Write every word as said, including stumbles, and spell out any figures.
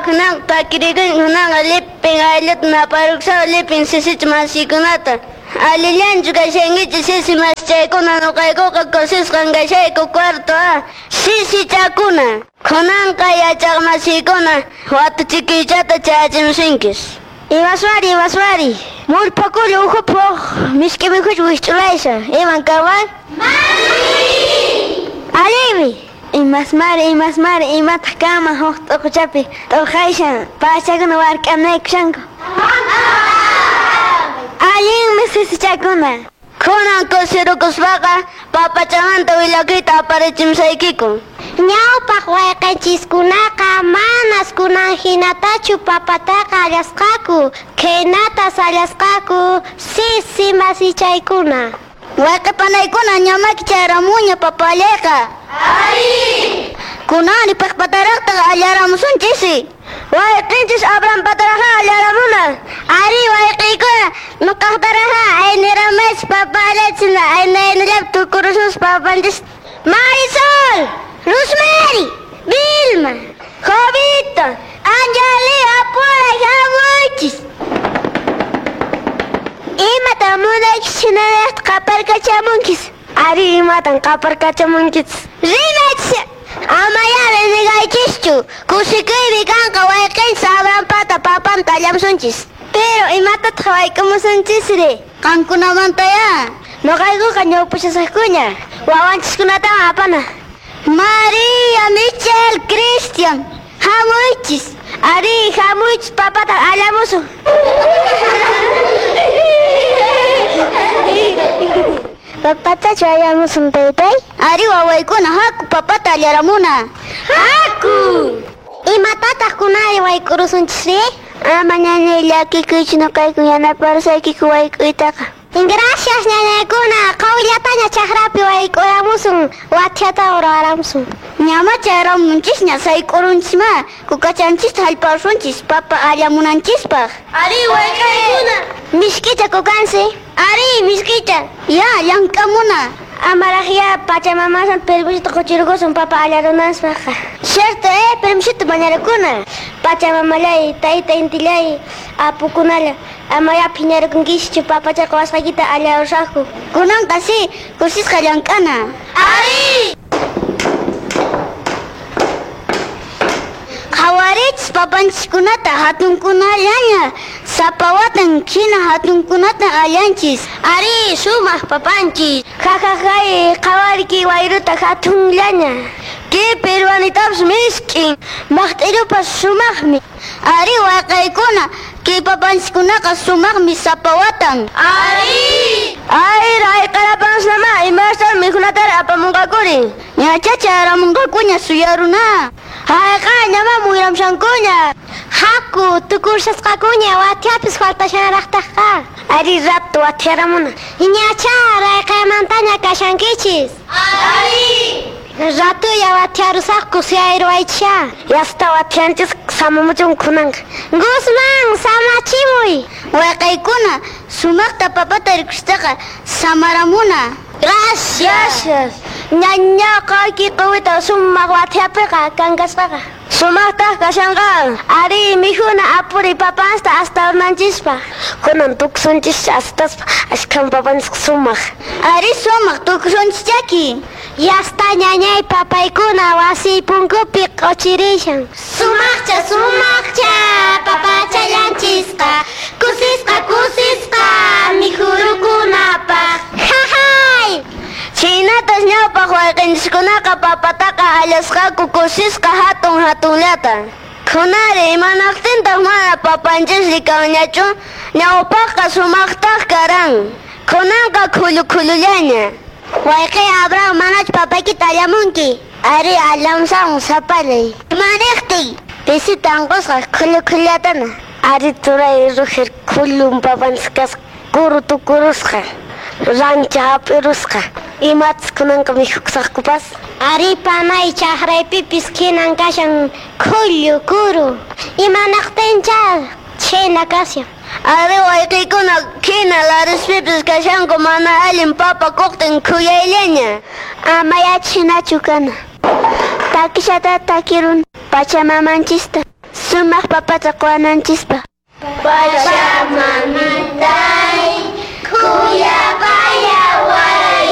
Kunan takirikun kunanqa lipin aylluta naparuksaw lipin sisicha masikunata. Allillanchu kashankichis sisi masichaykuna nuqaykuqa kusisqan kashayku cuarto A sisichakuna. Kunanqa yachaq masikuna watuchikiychata chayachimusunchis. Imasmari, imasmari. Mullpakullu ukhupi misk'i mikhucha wikch'ulaysa. Iman kanman? Allinmi. Imasmari, imasmari, imataq kanman huk t'uquchapi t'urqayshan pachakuna wark'anaykushanku. Allinmi sisichakuna. Kunan kusirukuspaqa papachamanta willakuyta aparichimusaykiku. Ñawpaq wayqenchiskunaqa manas kunan hinatachu papataqa allasqaku, khaynatas allasqaku sisi masichaykuna. Wayqe panaykuna ñamaki chayaramunña papa allayqa. Ari! Kunani piqpataraqtaq allaramusunchis. Wayqinchis Abraham pataraqa allaramuna. Ari wayqiykuna nuqaqtaraqa ayniramaychis papa allaychina aynaynallapi tukurusunchis papanchis. Marisol, Rosemary, Vilma, Jovito, Anjali, apuray hamuychis. Imatan munaychis hinallataq qaparkachamunkis? Ari imatan qaparkachamunkis? Rimaychis! Amayá renegaychischu. Kusikuymi kanqa wayqinchis Abrahampata papanta allamusunchis. Pero imatataq wayk'umusunchisri? Qankunamantayá. Nuqaykuqa ñawpashasaqkuña. Wawanchiskunataqa apana. María, Michelle, Cristian, hamuychis. Ari, hamuychis papata allamusun. Papatachu allamusun taytay? Ari wawaykuna haku papata allaramuna. Haku! Imatataq kunari wayk'urusunchisri? Ama ñañay llakikuychu nuqayku yanaparusaykiku wayk'uytaqa. Gracias ñañaykuna, qawillataña chakrapi wayk'uramusun, wathiata ruwaramusun. Ñama chayaramunchisña sayk'urunchisma, kukachanchista hallp'arusunchis papa allamunanchispaq. Ari wayqaykuna. Misk'icha kukansi. Ari misk'icha. Ya llank'amuna. Amaraqya pachamamasan permisota quchirqusun papa allarunanpaqqa. Cierto, eh, permisota mañarakuna. Pachamamallay, tayta intillay, apukunalla, amaya phiñarukunkischu papacha qawasqaykita allarusaqku. Kunanqa si, kusisqa llank'ana. Ari! Qhawarichis papanchiskunata hatunkunallaña, sapa watan hina hatunkunata allanchis. Ari, sumaq papanchis. Jajajay, qhawariki wayruta hatunllaña. Kay peruanitapas misk'in, maqt'irupas sumaqmi. Ari wayqaykuna, kay papanchiskunaqa sumaqmi sapa watan. Ari! Ay, rayqarapansnama, imastan mikhunatari apamunqakuri. Ñacha chayaramunqakuña suyaruna. Hayqa, ñama muyramshankuña. Haku, tukursasqakuña wathiapis faltashanaraqtaqqa. Ari rato wathiaramuna. Ñacha rayqaymantaña kashankichis. Ari! Ratuya wathiarusaqku suyayruwaychisha. Yasta wathianchis samamuchun kunanqa. Guzmán, samachimuy. Wayqaykuna, sumaqta papata rikustaqa samaramuna. Gracias. Ñaña qayki quwita sumaq wathiapiqa kankasqaqa. Sumaqtaq kashanqa. Ari mikhuna apuri papansta hasta urnanchispa. Kunan tukusunchis astaspa ashkhan papanchis sumaq. Ari sumaq tukusunchischaki. Yasta ñañay papaykuna wasi punkupi q'uchirishan. Sumaqcha, sumaqcha, papachallanchisqa, kusisqa, kusisqa, mikhurukunapaq. Jajay! Chhaynatas ñawpaq wayqinchiskunaqa papataqa allasqaku kusisqa hatun hatunllata. Kunari imanaqtintaq mana papanchisri kanñachu, ñawpaqqa sumaqtaq karan. Kunanqa khullu khullullaña. Wayqi Abraham manachu papaykita allamunki? Ari allamusaqmi sapallay. Imaniqtin? Pisita anqusqa khullu khullatana. Ari turay Roger khullun papanchis kasqa kuru tukurusqa. Rancha hap'irusqa. Imatas kunanqa mikhukusaqkupas? Ari panay chakraypipis khinan kashan khullu kuru. Imanaqtincha chhayna kashan. Ari wayqiykuna khina larispipis kashanku mana allin papa kuqtin khuyayllaña. Amaya chhinachu kana. Takishata takirun pachamamanchista. Sumaq papata quwananchispaq.